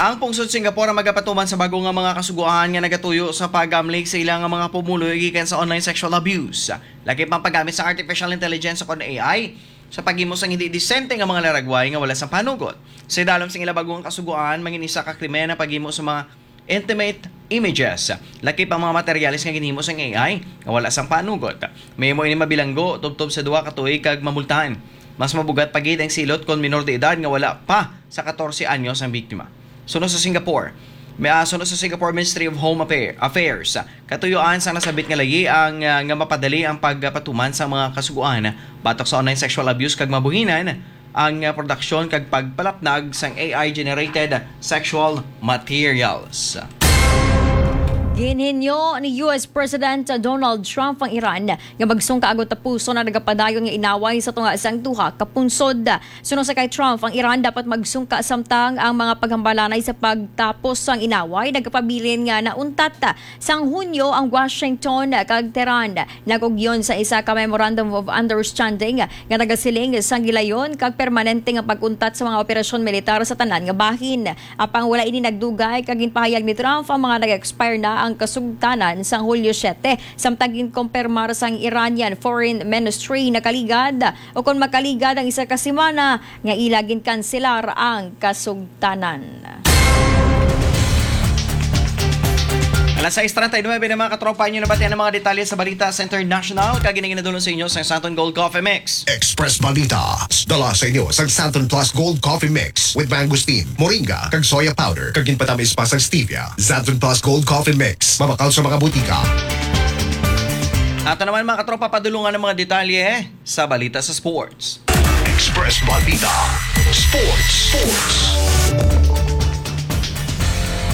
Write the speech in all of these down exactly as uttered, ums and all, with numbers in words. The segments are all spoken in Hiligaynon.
Ang pungsod Singapore ang magapatuman sa bago nga mga kasugoan nga nagatuyo sa pag-amlig sa ilang mga pumuluyo gikan sa online sexual abuse. Lakip ang paggamit sa artificial intelligence o kon A I sa paghimo sang hindi disente nga mga laragway nga wala sang panugot. Sa idalom sang ila bago nga kasugoan, mangin isa ka krimen ang paghimo sa mga intimate images. Lakip ang mga materyales nga ginhimo sang A I nga wala sang panugot. Mahimo ini mabilanggo tubtob sa duha ka tuig kag mamultahan. Mas mabugat pa gid ang silot kon minor de edad nga wala pa sa katorse anyos ang biktima. Suno sa Singapore, may, ah, suno sa Singapore Ministry of Home Affair- Affairs, katuyuan sang nasabit nga layi ang, ah, nga mapadali ang pagpatuman sa mga kasugoan batok sa online sexual abuse kag mabuhinan ang, ah, produksyon kag pagpalapnag sang A I-generated sexual materials. Ginhinyo ni U S President Donald Trump ang Iran nga magsungka agud tapuson ang nagapadayon nga inaway sa tunga sang duha ka pungsod. Suno sa kay Trump, ang Iran dapat magsungka samtang ang mga paghambalanay sa pagtapos sang inaway nagapabilin nga nauntat. Sang Hunyo ang Washington kag Tehran nag-ugyon sa isa ka Memorandum of Understanding nga nagasiling sang gilayon kag permanente nga pag-untat sa mga operasyon militar sa tanan nga bahin. Apang wala ini nagdugay kag ginpahayag ni Trump ang mga nag-expire na ang kasugtanan sang Hulyo siete, samtang ginkumpirmar sang Iranian Foreign Ministry nakaligad o kon makaligad ang isa ka semana nga ila ginkanselar ang kasugtanan. Alas sais treinta y nueve na, mga katropa, inyo nabatian ang mga detalye sa balita sa international, kag ini ginadulong sa inyo sa Santon Gold Coffee Mix. Express Balita, dala sa inyo sang Santon Plus Gold Coffee Mix with mangosteen, moringa, kag soya powder, kag ginpatamis pa sang stevia. Santon Plus Gold Coffee Mix, mabakal sa mga butika. Ato naman, mga katropa, padulungan ang mga detalye sa balita sa sports. Express Balita Sports. Sports.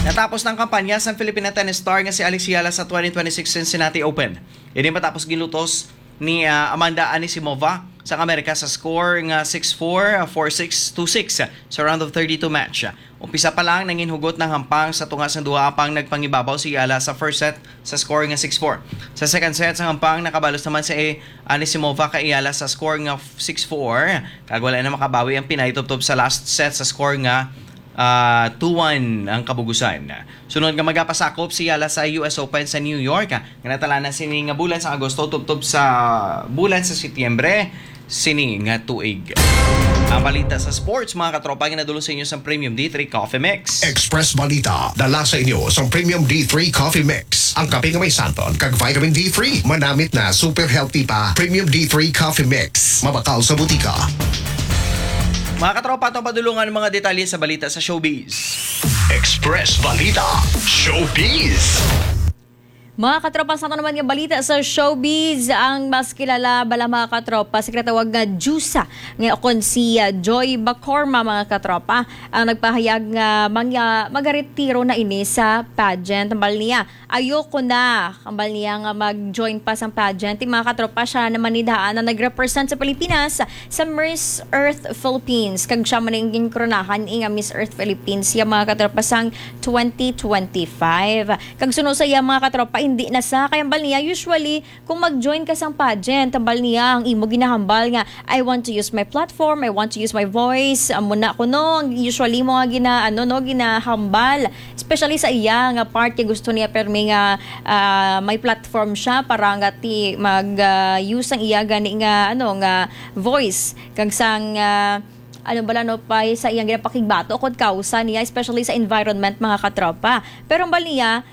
Natapos na ang kampanya sang Filipina tennis star nga si Alex Eala sa twenty twenty-six Cincinnati Open. Ini matapos gilutos ni, ah, Amanda Anisimova sang Amerika sa score nga six four, four six, two six sa round of thirty-two match. Umpisa pa lang, nangin hugot ang hampang sa tunga sang duha, apang nagpangibabaw si Eala sa first set sa score nga six four. Sa second set sang hampang, nakabalos naman si Anisimova kay Eala sa score nga six four, kag wala na makabawi ang Pinay tubtob sa last set sa score nga, ah, two one ang kabugusan. Sunod nga magapasakop si Eala sa U S Open sa New York, nga natalanan sini nga bulan sa Agosto tubtob sa bulan sa Setyembre sini nga tuig. Ang balita sa sports, mga katropa, ginadulong sa inyo sa Premium D three Coffee Mix. Express Balita, dala sa inyo sa Premium D three Coffee Mix. Ang kape nga may santon kag vitamin D three, manamit na, super healthy pa. Premium D three Coffee Mix, mabakal sa butika. Mga katropa, atong padulungan ang mga detalye sa balita sa showbiz. Express Balita Showbiz. Mga katropa, sa ato naman nga balita sa showbiz, ang mas kilala bala, mga katropa, sa ginatawag nga Diyosa, nga kon si, ah, Joy Bacorma, mga katropa, ang nagpahayag nga mangya-, magaretiro na ini sa pageant. Hambal niya, ayoko na, hambal niya, nga mag-join pa sang pageant. Ti, mga katropa, siya naman ni daan ang nag-represent sa Pilipinas sa Miss Earth Philippines. Kag siya man ang ginkoronahan nga Miss Earth Philippines, ya, mga katropa, sang twenty twenty-five. Kag suno sa iya, mga katropa, hindi na sa kay hambal niya, usually, kung mag-join ka sang pageant, hambal niya, ang imo ginahambal nga, "I want to use my platform, I want to use my voice." Amo na kuno, ang usually mo nga gina-, ano, no, ginahambal. Especially sa iya nga part, kay gusto niya permi nga, ah, may platform siya para nga ti mag, ah, use ang iya gani nga, ano, nga voice. Kag sang, ah, ano bala, no, pa sa iyang ginapakigbato kung kausa niya, especially sa environment, mga katropa. Pero hambal niya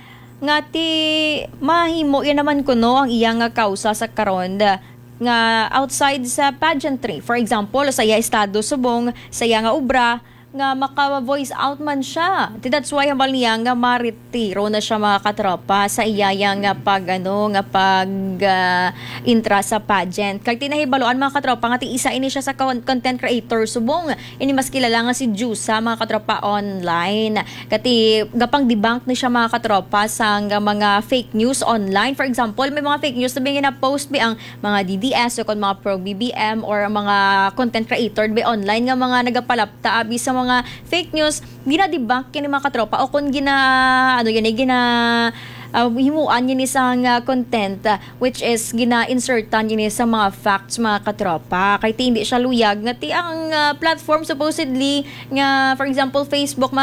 nga ti mahimo yan naman kuno ang iya nga kausa sa karon da-, nga outside sa pageantry. For example, sa iya estado subong, sa iya nga obra, nga maka-voice out man siya. Ti that's why hambal niya nga maretiro na siya, mga katropa, sa iya yang nga pag, ano, nga pag, ah, intra sa pageant. Kag tinahibaluan, mga katropa, nga ti isa ini siya sa con-, content creator subong ini mas kilala nga si Diyosa, mga katropa, online. Kati gapang debunk ni siya, mga katropa, sang mga fake news online. For example, may mga fake news na may gina-post bi ang mga D D S o kon mga pro B B M or ang mga content creator bi online nga mga nagapalapta abi sa mga fake news, gina-debunk kini, mga katropa, o kon gina-, ano gani, gina-, ah, himuan gani sang, ah, content, ah, which is gina-insertan gani sa mga facts, mga katropa. Kay ti hindi siya luyag nga ti ang, ah, platform supposedly nga, for example, Facebook, mga